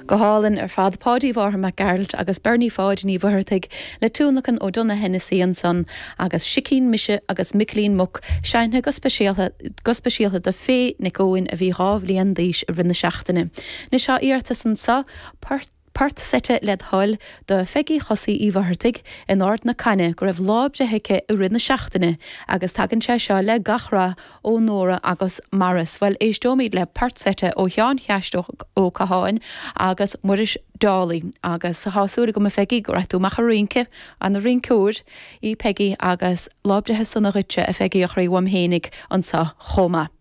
Go hálainn ar fad. Páidí Mhárthain Mac Gearailt agus Bernie Pháid Ní Mhuircheartaigh le tionlacan ó Donogh Hennessy ansan agus Sicín Mise agus Micilín Muc seinnte go speisialtha go speisialta do Faye Nic Eoin a bhí 2 bhliain d'aois i rith na seachtaine. Anois tá iarratas anso, port port seite led thoil do Pheigí Chosaí Uí Mhuircheartaigh in Ard na Caithne go raibh lá breithe aici i rith na seachtaine agus tagann sé seo le gach rath ó Nóra agus Maurice. Bhuel, éisteoimid le port seite ó Sheán Cheaist Ó Catháin agus Muiris Dálaigh. Agus tá súil agam, a Pheigí, go rachaidh tú amach a rince, ana rinceoir í Peigí agus lá breithe sona dhuitse, a Pheigí a chroí uaim fhéinig anso chomh maith.